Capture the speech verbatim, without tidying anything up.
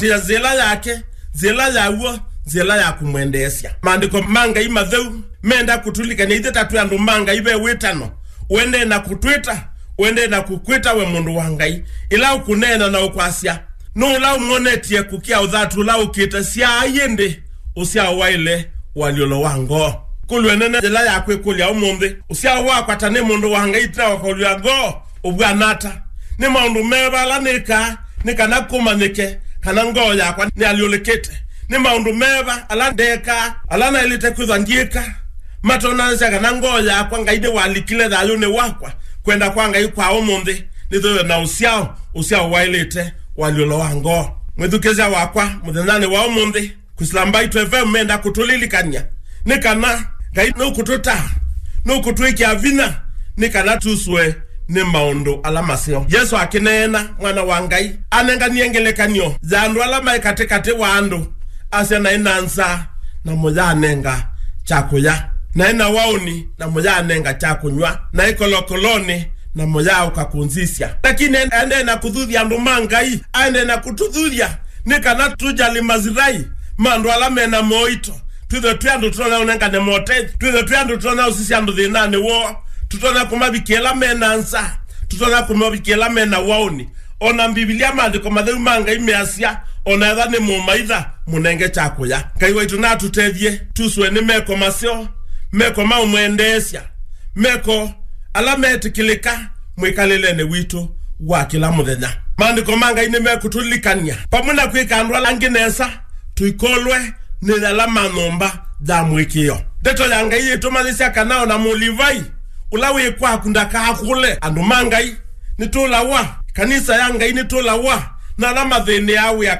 Tĩa nzĩla yake, nzĩla ya w'o, nzĩla ya kũmwendeesya. Maandĩko ma Ngai matheu menda kũtũlilikany'a ithyĩ ta twĩ andũ ma Ngai ve wĩtano. Ũendee na kũtwĩta, ũendee na kũkwĩta we mũndũ wa Ngai. Ĩla ũkũneena na ũkwasya, nũũ ũla ũmwonetye kũkĩa ũthatu ũla ũkĩte? Syaa ĩndĩ ũsyao waĩle ũalyũlo wa ngoo. Kũlw'e nene yĩla ya kwĩkũlya ũmũnthĩ, ũsyao wakwa ta nĩ mũndũ wa Ngai ĩtina wa kũlw'a ngoo ũvw'ana ata? Nĩ maũndũ meva ala nĩkaa nĩ kana kũmanyĩke kana ngoo yakwa nĩalyũlĩkĩte? Nĩ maũndũ meva ala ndekaa, ala naĩlĩte kwĩthwa ndyĩka, matonanasya kana ngoo yakwa Ngai nĩwalikile thayũnĩ wakwa? Kwenda kwa Ngai kwa ũmũnthĩ nĩtwĩwe na ũsyao, ũsyao waĩlĩte ũalyũlo wa ngoo. Mwĩthukĩĩsya wakwa, mũthenyanĩ wa ũmũnthĩ, Kwĩsĩla Mbaitũ F M menda kũtũlilikany'a nĩ kana Ngai nũkũtũtaa, nũkũtwĩkĩa vinya nĩ kana tusũe nĩ maũndũ ala maseo. Yesũ akĩneena, Mwana wa Ngai anenganie ngelekany'o ya andũ ala maĩ katĩkatĩ wa andũ, asya, naĩ na nzaa, namo yaanenga kya kũya, naĩ na waũni, namo yaanenga kya kũnyw'a, naĩ kolokolonĩ, namo yaaũka kũnzisya. Lakini aendee na kũthuthya andũ ma Ngai, aendee na kũtũthuthya nĩ kana tũjali masilahi ma andũ ala me na moito. Twĩthwe twĩ andũ tũtonya ũnengane motethyo, twĩthwe twĩ andũ tũtonya ũsisya andũ thĩnanĩ woo, tũtonya kũmavikĩa ĩla me na nzaa, tũtonya kũmavikĩa ĩla me na waũni. O na Mbivilia, maandĩko matheu ma Ngai measya, o na ethwa nĩ mũmaitha, mũnenge kya kũya. Ngai waitũ natũtethye tusũe nĩ meko maseo, meko ma ũmwendeesya, meko ala metĩkĩlĩka mwĩkalĩlenĩ witũ wa kĩla mũthenya. Maandĩko ma Ngai nĩmekũtũlilikany'a, vamwe na kwĩka andũ ala angĩ nesa, tũikolwe nĩ ala ma nyũmba ya mũĩkĩĩo. Ndeto ya Ngai yĩtũmanyĩsya kana o na Mũlivai ũla wĩ kwaku ndakakũle. Andũ ma Ngai nĩtũlawa, kanisa ya Ngai nĩtũlawa, na ala mathĩnĩaa wĩa